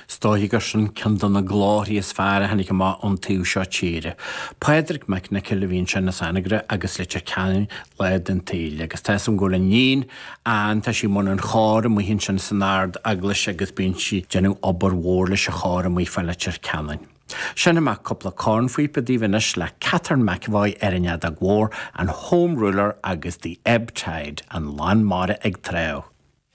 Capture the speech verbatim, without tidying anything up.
Is dóiche gur sin ceann de na glórthaí is fearr a tháinig amach ón taobh seo tíre. Pádraig Mac Niocaill a bhí ansin as Anagaire agus Leitir Ceanainn lá den tsaol agus tá 'fhios a'm go bhfuil a iníon Ann, tá sí i mbun an chóir amuigh ansin san Ard Eaglais agus bíonn sí ag déanamh obair mhór leis an chór amuigh fá Leitir Ceanainn. Seinnfidh mé cúpla cornphíopa daoibh anois le Catherine McEvoy ar an fheadóg mhór, an Home Ruler agus The Ebb Tide, an lán mara ag treabhadh.